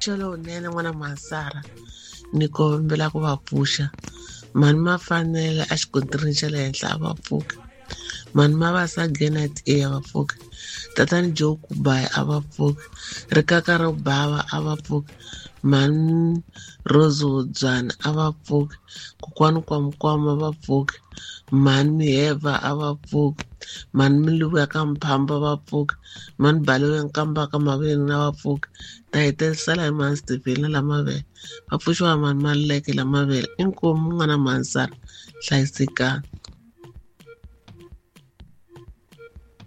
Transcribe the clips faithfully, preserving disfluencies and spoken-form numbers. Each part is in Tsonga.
Lowunene n'wana Masara ni kombela ku va pfuxa mhani Mafanele a xikontirini xa le henhla a va pfuki, mhani Mavasa Genet e a va pfuki, tatani Joe Kubayi a va pfuki, Rikaka ro Bava a va pfuki, mhani Rose Wodzwana a va pfuki, kokwani Kwamkwama va pfuki, mhani Miheva a va pfuki, mhani Miluvu ya ka Mphamba va pfuki, mhani Baloyi ya Nkamba ka Maveni a va pfuki, ta hetelisela hi mhani Stevena Lamavele va pfuxiwa mhani Maluleke Lamavele. Inkomu n'wana Mansara, hlayisekani.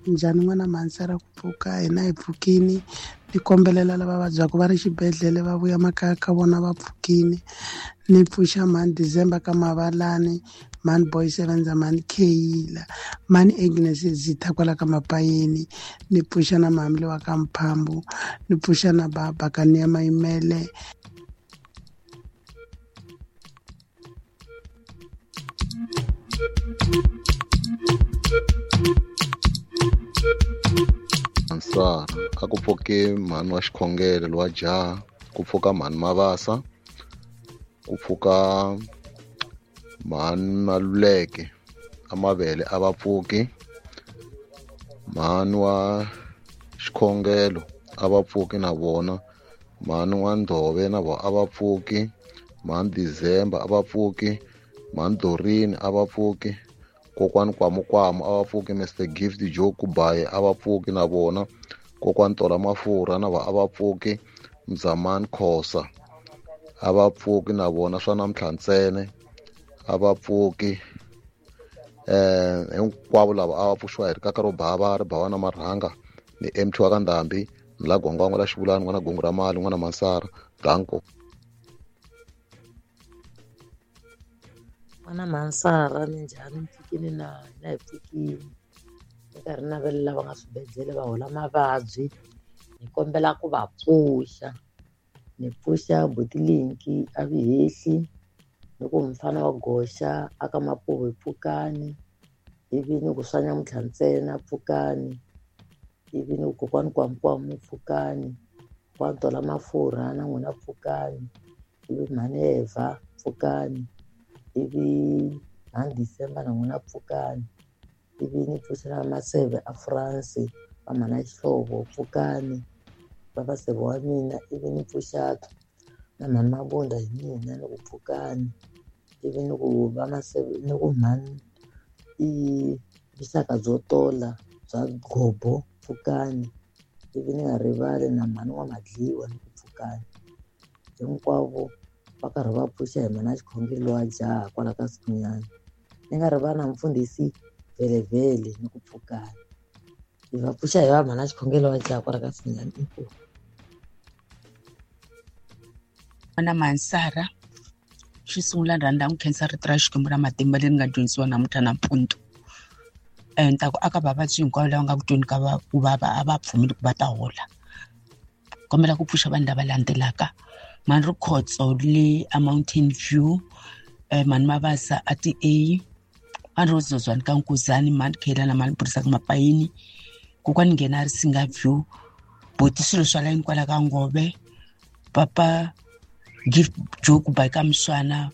Njhani n'wana Mansara ku pfuka hina hi pfukini, ni kombelela lava vabyaka va ri xibedhlele va vuya makaya ka vona va pfukini. Ni pfuxa mhani December ka Mavalani, mhani Boy Sevenza, mhani Kheyila, mhani Agnes Zitha kwala ka Mapayeni, ni pfuxa na mhani wa ka Mphambu, ni pfuxa na baba ka Nia Mayimele. Mansara a ku pfuke mhani wa xikhongelo lowa jaha, ku pfuka mhani Mavasa, ku pfuka mhani Maluleke a Mavele a va pfuki, mhani wa xikhongelo a va pfuki na vona, mhani wa Ndhove na vona a va pfuki, mhani December a va pfuki, mhani Dorini a va pfuki, kokwani Kwamukwamu a va pfuki, Mister Gift Joe Kubayi a va pfuki na vona, kokwani Tola Mafurha na vona a va pfuki, Mzamani Khosa a va pfuki na vona, swa namuntlha ntsena a va pfuki. Eh hinkwavo lava a va pfuxiwa hi rikaka ro bava ri bava na marhanga ni M T wa ka Ndhambi ni la Gwangwangwa la Xivulani n'wana Gungu ra Mali n'wana Mansara danko. N'wana Mansara minjhani, mpfukini na hina hi pfukini ni karhi navelela lava nga swibedhlele va hola mavabyi, ni kombela ku va pfuxa. Ni pfuxa Butilinki a Vihehli, ni ku mfana wa Goxa a ka Mapuve pfukani, ivi ni ku swa nyamuntlha ntsena pfukani, ivi ni ku kokwani Kwamukwamu pfukani, kokwani Tola Mafurha na n'wina pfukani, ivi mhani Eva pfukani, ivi mhani December na n'wina pfukani, ivi ni pfuxela Maseve a France va mhana Xihlovo pfukani, va Maseve wa mina, ivi ni pfuxa na mhani Mabunda hi mina ni ku pfukani, ivi ni ku va Maseve ni ku mhani i vuxaka byo tola bya Gobo pfukani, ivi ni nga rivali na mhani wa Madliwa ni ku pfukani. Hinkwavo va karhi va pfuxa hi mhana xikhongelo wa jaha kwala ka Sinyana, ni nga rivali na mfundhisi Vhelevhele ni ku pfukani. Hi va pfuxa hi va mhana xikhongelo wa jaha kwala ka Sinyana. Inkomu. N'wana Mansara, xo sungula ni rhandza ku khensa rito ra Xikwembu ra matimba leri nga dyondzisiwa namuntlha nampundzu. Ni ta ku aka vavabyi hinkwavo lava nga ku tweni ka va ku vava a va pfumeli ku va ta hola. Kombela ku pfuxa vanhu lava landzelaka. Mhani Rikhotso le a Mountain View, mhani Mavasa a T A, mhani Rose Zozwana ka Nkuzani, mhani Khela na mhani Burisa ka Mapayini, kokwani Nghena a ri Singa View, buti swilo swa layini kwala ka Ngove, papa Gift Joe Kubayi ka Mswana,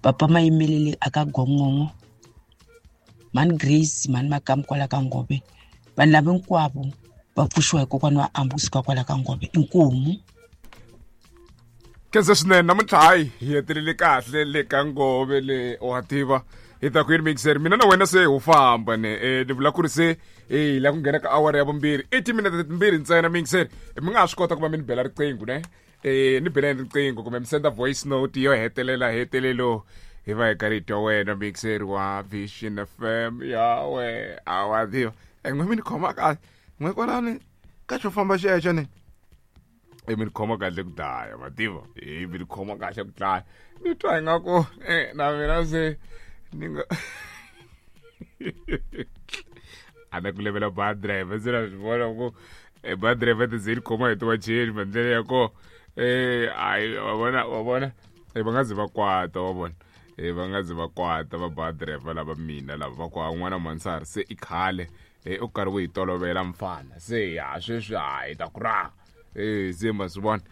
papa Mayimelele a ka Gongongo, mhani Grace, mhani Makamu kwala ka Ngove. Vanhu lava hinkwavo va pfuxiwa hi kokwana wa Ambu kusuka kwala ka Ngove. Inkomu. Khensa swinene namuntlha, hayi hi hetelele kahle le ka Ngove le wa tiva hi ta ku yini mixer mina na wena se ho famba ne eh ni vula ku ri se eh la ku nghena ka awara ya vumbirhi i timinete timbirhi ntsena mixer mi nga ha swi kota ku va mi ni bela riqingho ne eh ni beleni riqingho kumbe mi senda voice note yo hetelela hetelelo hi va hi karhi hi twa wena mixer wa Vision F M ya we a wa tiva e n'we mi ni khoma kahle n'we kwalani ka xo famba xexo ne e mi ni khoma kahle ku dlaya ma tiva e mi ni khoma kahle ku dlaya ni twa ingaku eh na mina se ni nga a na ku levela ba driver se na swi vona ku e ba driver ti ze ni khoma hi tiwacheni mandlela ya ko eh ayi wa vona wa vona e va nga zi va kwata wa vona e va nga zi va kwata va ba driver lava mina lava va kwa n'wana Mansara se i khale e u karhi u hi tolovela mfana se ya sweswi hayi ta ku raha eh se ma swi vona.